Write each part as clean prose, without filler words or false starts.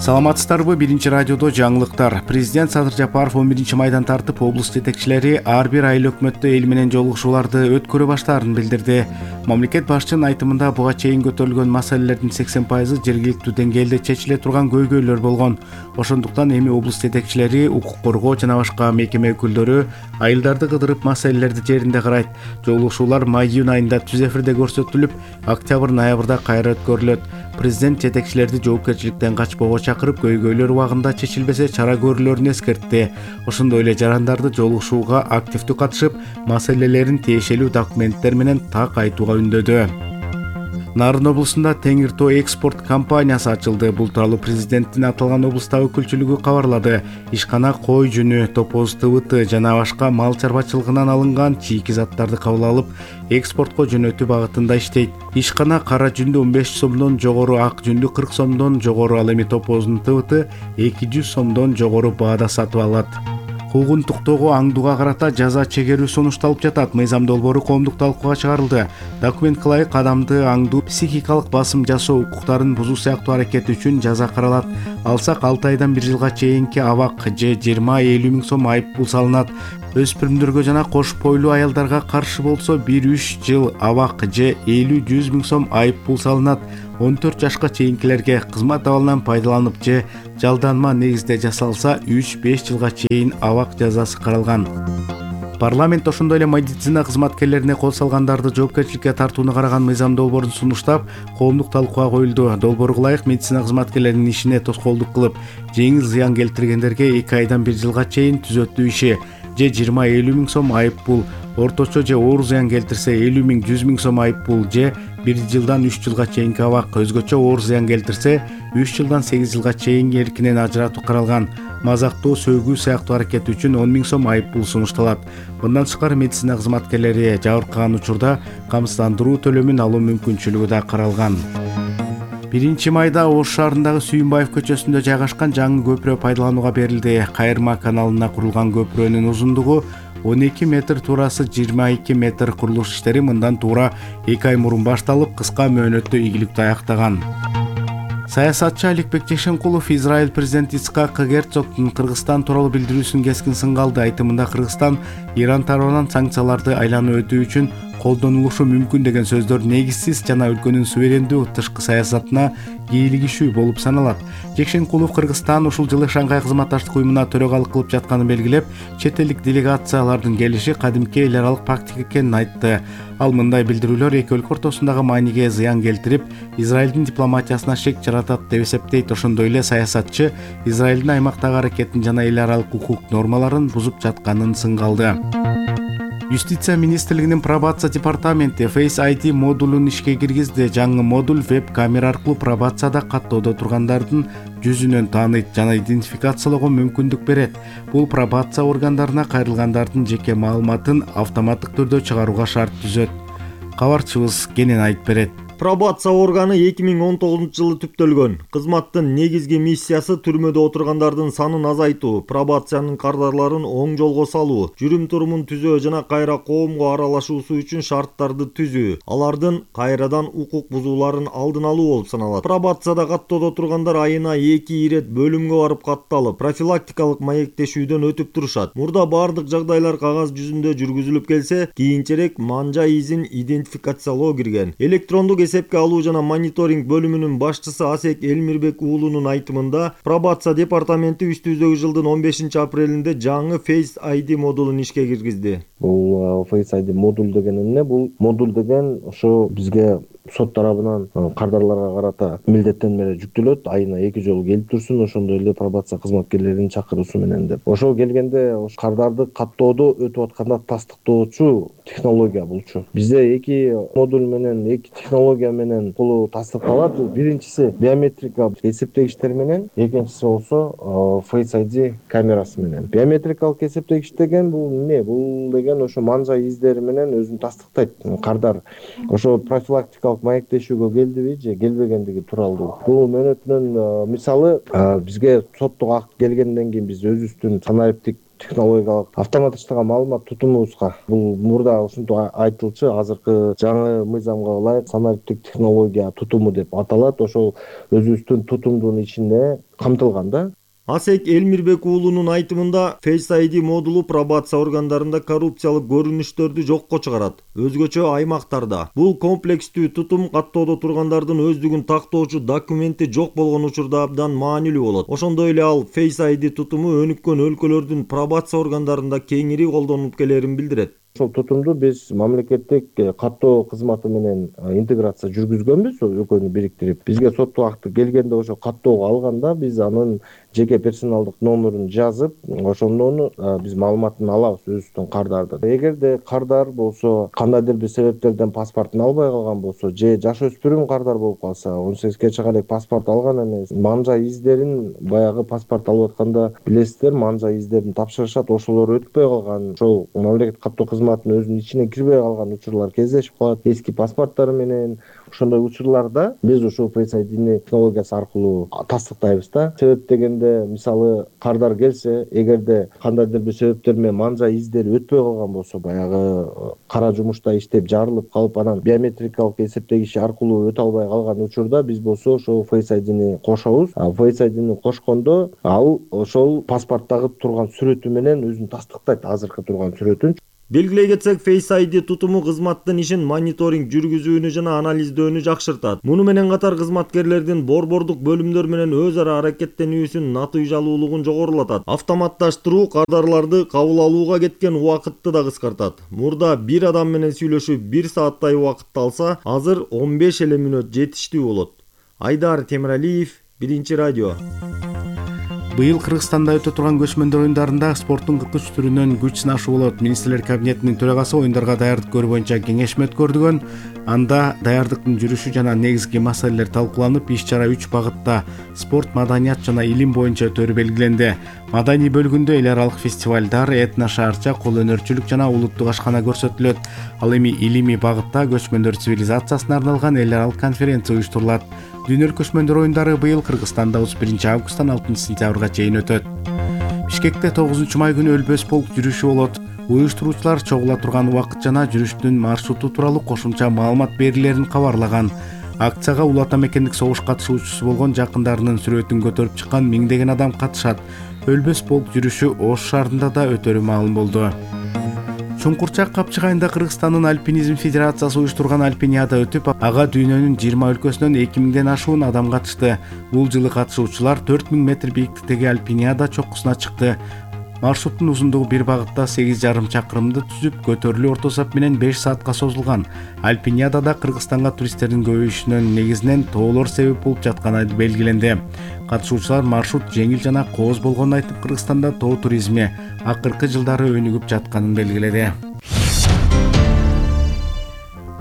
Саламатсыздарбы? Биринчи радиодо жаңылыктар. Президент Садыр Жапаров 11 майдан тартып, облус жетекчилери ар бир айыл өкмөттө эл менен жолугушууларды өткөрө баштаарын билдирди. Мамлекет башчынын айтымында буга чейин көтөрүлгөн маселелердин 80% жергиликтүү деңгээлде чечиле турган көйгөйлөр болгон. Ошондуктан эми облус жетекчилери, укук коргоо жана башка мекеме өкүлдөрү айылдарды кыдырып маселелерди жеринде карайт. Жолугушуулар май-июнь айында түз эфирде көрсөтүлүп, октябрь-ноябрда кайра өткөрүлөт. Президент жетекчилерди жоопкерчиликтен качпоого чакырып, көйгөйлөр убагында чечилбесе чара көрүлөрүн эскертти. Ошондой эле жарандарды жолугушууга активдүү катышып, маселелерин тиешелүү документтер менен так айтууга үндөдү. Нарын облусунда Теңир Тоо экспорт компаниясы ачылды. Бул тууралуу президенттин аталган облустагы өкүлчүлүгү кабарлады. Ишкана кой жүнү, топоз тыбыты жана башка мал чарбачылыгынан алынган чийки заттарды кабыл алып, экспортко жөнөтүү багытында иштейт. Ишкана кара жүндү 15 сомдон жогору, ак жүндү 40 сомдон жогору, ал эми топоздун тыбыты 200 сомдон жогору баада сатып алат. Куугунтуктогу аңдууга карата жаза чегерүү сунушталып жатат. Мыйзам долбоору коомдук талкууга чыгарылды. Документ кылайык адамды аңдуу, психикалык басым жасоо, укуктарын бузуу сыяктуу аракет үчүн жаза каралат. Алсак 6 айдан 1 жылга чейинки абак же 20-50 миң сом айып пул салынат. Өспүрүмдөргө жана кош бойлуу аялдарга каршы болсо 1-3 жыл абак же 50-100 миң сом айып пул салынат. 14 жашка чейинкилерге кызмат абалынан пайдаланып же жалданма негизде жасалса 3-5 жылга чейин абак жазасы каралган. Парламент ошондой эле медицина кызматкерлерине кол салгандарды жоопкерчиликке тартууну караган мыйзам долбоорун сунуштап, коомдук талкууга коюлду. Долбоорго ылайык медицина кызматкерлеринин ишине тоскоолдук кылып, жеңил зыян келтиргендерге 2 айдан 1 жылга чейин түзөтүү иши же 20-50 миң сом айып пул, орточо же оор зыян келтирсе 50 миң 100 миң сом айып пул же 1 жылдан 3 жылга чейинки абак, өзгөчө оор зыян келтирсе 3 жылдан 8 жылга чейин эркинен ажыратуу каралган. Мазактоо, сөөгүү сыяктуу аракет үчүн 10 миң сом айып пул сунушталат. Мындан тышкары медицина кызматкерлери жабыркаган учурда камсыздандыруу төлөмүн алуу мүмкүнчүлүгү да каралган. 1 майда Ош шаарындагы Сүйүнбаев көчөсүндө жайгашкан жаңы көпүрө пайдаланууга берилди. Кайырма каналына курулган көпүрөнүн узундугу 12 метр, туурасы 22 метр. Курулуш иштери мындан туура 2 ай мурун башталып, кыска мөөнөттө ийгиликтүү аяктаган. Саясатчы Аликбек Жешенкулов Израиль президенти Ицхак Герцогдун Кыргызстан тууралуу билдирүүсүн кескин сынга алды. Айтымында Кыргызстан Иран тарабынан санкцияларды айланып өтүү үчүн колдонулушу мүмкүн деген сөздөр негизсиз жана өлкөнүн суверендүү тышкы саясатына кийлигишүү болуп саналат. Жекшенкулов Кыргызстан ушул жылы Шангай кызматташтык уюмуна төрөгалык кылып жатканын белгилеп, чет элдик делегациялардын келиши кадимки эл аралык практика экенин айтты. Ал мындай билдирүүлөр эки өлкө ортосундагы мааниге зыян келтирип, Израилдин дипломатиясына шек жаратат деп эсептейт. Ошондой эле саясатчы Израилдин аймактагы аракетин жана эл аралык укук нормаларын бузуп жатканын сынга алды. Юстиция министрлигинин пробация департаменти Face ID модулун ишке киргизди. Жаңы модуль веб-камера аркылуу пробацияда каттоодо тургандардын жүзүнөн тааныйт жана идентификациялоого мүмкүндүк берет. Бул пробация органдарына кайрылгандардын жеке маалыматын автоматтык түрдө чыгарууга шарт түзөт. Кабарчыбыз кенен айтып берет. Пробация органы 2019 жылы түптөлгөн. Кызматтын негизги миссиясы түрмөдө отургандардын санын азайтуу, пробациянын кардарларын оң жолго салуу, жүрүм-турумун түзөө жана кайра коомго аралашуусу үчүн шарттарды түзүү, алардын кайрадан укук бузууларын алдын алуу болуп саналат. Пробацияда каттоодо тургандар айына 2 ирет бөлүмгө барып катталып, профилактикалык маектешүүдөн өтүп турушат. Мурда бардык жагдайлар кагаз жүзүндө жүргүзүлүп келсе, кийинчерээк манжа изин идентификациялоо кирген. Электрондук эсепке алуу жана мониторинг бөлүмүнүн башчысы Асек Элмирбек уулунун айтымында, пробация департаменти үстүбүздөгү жылдын 15 апрелинде жаңы Face ID модулун ишке киргизди. Бул Face ID модуль деген эмне? Бул модуль деген ошо бизге сот тарабынан кардарларга карата милдеттенмелер жүктөлөт, айына 2 жолу келип турсун, ошондой эле пробация кызматкерлеринин чакыруусу менен деп. Ошол келгенде кардарды каттоодо өтүп атканда тастыктоочу технология булчу. Бизде 2 модуль менен, 2 технология менен бул тастыкталат. Биринчиси биометрикалык эсептегичтер менен, экинчиси болсо Face ID камерасы менен. Биометрикалык эсептегич деген бул эмне? Бул деген ошо манжа издери менен өзүн тастыктайт. Кардар ошо профилактикалык маектешүүгө келдиби же келбегендиги тууралуу. Бул мөөнөтүнүн мисалы бизге соттук акт келгенден кийин биз өзүбүздүн санариптик технологиялык автоматташтырган маалымат тутумубузга бул мурда ушинтип айтылчу азыркы жаңы мыйзамга ылайык самолеттик технология тутуму деп аталат. Ошол өзүбүздүн тутумдун ичинде камтылган да. Асек Элмирбек уулунун айтымында Face ID модулу пробация органдарында коррупциялык көрүнүштөрдү жокко чыгарат. Өзгөчө аймактарда бул комплекстүү тутум каттоодо тургандардын өздүгүн тактоочу документи жок болгон учурда абдан маанилүү болот. Ошондой эле ал Face ID тутуму өнүккөн өлкөлөрдүн пробация органдарында кеңири колдонулуп келерин билдирет. Ошол тутумду биз мамлекеттик каттоо кызматы менен интеграция жүргүзгөнбүз, экөөнү бириктирип. Бизге соттук акты келгенде ошо каттоого алганда биз анын жеке персоналдык номерин жазып, ошондон биз маалыматын алабыз өзүбүздүн кардардын. Эгерде кардар болсо кандайдыр бир себептерден паспортун албай калган болсо, же жаш өспүрүм кардар болуп калса, 18 чейин элек паспорт алган эмес, манжа издерин баягы паспорт алып атканда билесиздер, манжа издерин тапшырышат, ошолор өтпөй калган, ошол мамлекеттик каттоо кызматынын өзүнүн ичине кирбей калган учурлар кездешип калат. Эски паспорттары менен ошондой учурларда биз ушул Face ID технологиясы аркылуу тастыктайбыз да. Себеп дегенде, мисалы кардар келсе, эгерде кандайдыр бир себептер менен манжа издери өтпөй калган болсо, баягы кара жумушта иштеп жарылып калып, анан биометрикалык эсептегич аркылуу өтө албай калган учурда биз болсо ошол Face ID кошобуз. Face ID кошкондо ал ошол паспорттагы турган сүрөтү менен өзүн тастыктайт, азыркы турган сүрөтүн. Белгилей кетсек, Face ID тутуму кызматтын ишин мониторинг жүргүзүүнү жана анализдөөнү жакшыртат. Муну менен катар кызматкерлердин борбордук бөлүмдөр менен өз ара аракеттенүүсүн натыйжалуулугун жогорулатат. Автоматташтыруу кардарларды кабыл алууга кеткен убакытты да кыскартат. Мурда бир адам менен сүйлөшүп 1 сааттай убакытты алса, азыр 15 эле мүнөт жетиштүү болот. Айдар Темиралиев, Биринчи радио. Быйыл Кыргызстанда өтө турган көчмөндөр оюндарында спорттун 43 түрүнөн күч сынашуу болот. Министрлер кабинетинин төрагасы оюндарга даярдык көрүү боюнча кеңешме өткөрдүгөн. Анда даярдыктын жүрүшү жана негизги маселелер талкууланып, иш-чара 3 багытта спорт, маданият жана илим боюнча өтөрү белгиленди. Маданий бөлүгүндө эл аралык фестивалдар, этно-шаарча, кол өнөрчүлүк жана улуттук ашкана көрсөтүлөт. Ал эми илимий багытта көчмөндөр цивилизациясына арналган эл аралык конференция уюштурулат. Дүйнөлүк көчмөндөр оюндары быйыл Кыргызстанда 31 августтан 6 сентябрга чейин өтөт. Бишкекте 9 май күнү Өлбөс полк жүрүшү болот. Уюштуруучулар чогула турган убакыт жана жүрүштүн маршруту тууралуу кошумча маалымат берилерин кабарлаган. Акцияга Улуу Ата Мекендик согуш катышуучусу болгон жакындарынын сүрөтүн көтөрүп чыккан миңдеген адам катышат. Өлбөс полк жүрүшү Ош шаарында да өтөрү маалым болду. Чуңкурчак Капчыгайында Кыргызстандын Альпинизм Федерациясы уюштурган альпиниада өтүп, ага дүйнөнүн 20 өлкөсүнөн 2000ден ашуун адам катышты. Бул жылы катышуучулар 4000 метр бийиктиктеги альпиниада чоккусуна чыкты. Маршруттун узундугу бир багытта 8,5 чакырымды түзүп, көтөрүлүү орто сап менен 5 саатка созулган. Альпиниадада Кыргызстанга туристтердин көбөйүшүнүн негизинен тоолор себеп болуп жатканы белгиленди. Катышуучулар маршрут жеңил жана кооз болгонун айтып, Кыргызстанда тоо туризми акыркы жылдары өнүгүп жатканын белгиледи.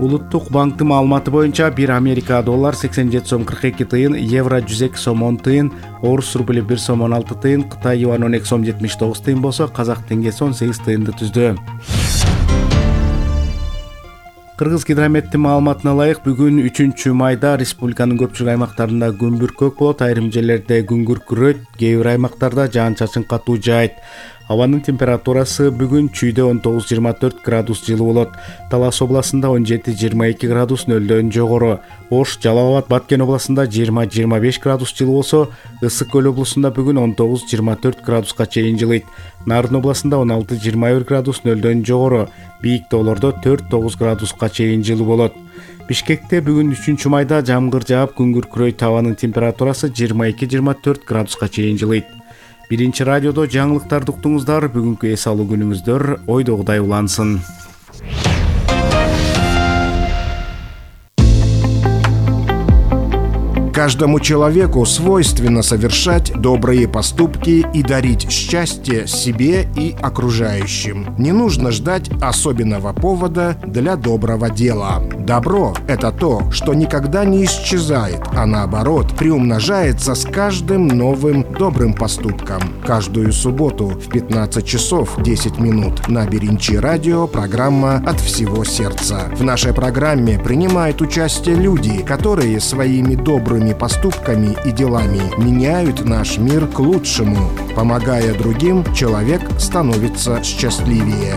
Улуттук банктын маалыматы боюнча 1 Америка доллар 87 сом 42 тыйын, евро 102 сом 10 тыйын, орус рубли 1 сом 16 тыйын, Кытай юань 12 сом 79 тыйын болсо, казак теңгеси 18 тыйынды түздү. Кыргыз гидрометтин маалыматына ылайык, бүгүн 3 майда республиканын көпчүлүк аймактарында күн бүркөк болот, айрым жерлерде күн күркүрөйт, кээ бир аймактарда жаан-чачын катуу жаайт. Абанын температурасы бүгүн Чүйдө 19-24 градус жылы болот. Талас областында 17-22 градус нөлдөн жогору. Ош, Жалал Абад, Баткен областында 20-25 градус жылы болсо, Ысык көл областында бүгүн 19-24 градуска чейин жылыйт. Нарын областында 16-21 градус нөлдөн жогору. Бийик тоолордо 4-9 градуска чейин жылы болот. Бишкекте бүгүн 3 майда жамгыр жаап, күн күркүрөйт, абанын температурасы 22-24 градуска чейин жылыйт. Биринчи радиодо жаңылыктарды уктуңуздар. Бүгүнкү эс алуу күнүңүздөр ойдогудай улансын. Каждому человеку свойственно совершать добрые поступки и дарить счастье себе и окружающим. Не нужно ждать особенного повода для доброго дела. Добро – это то, что никогда не исчезает, а наоборот, приумножается с каждым новым добрым поступком. Каждую субботу в 15 часов 10 минут на Биринчи радио программа «От всего сердца». В нашей программе принимают участие люди, которые своими добрыми своими поступками и делами меняют наш мир к лучшему. Помогая другим, человек становится счастливее.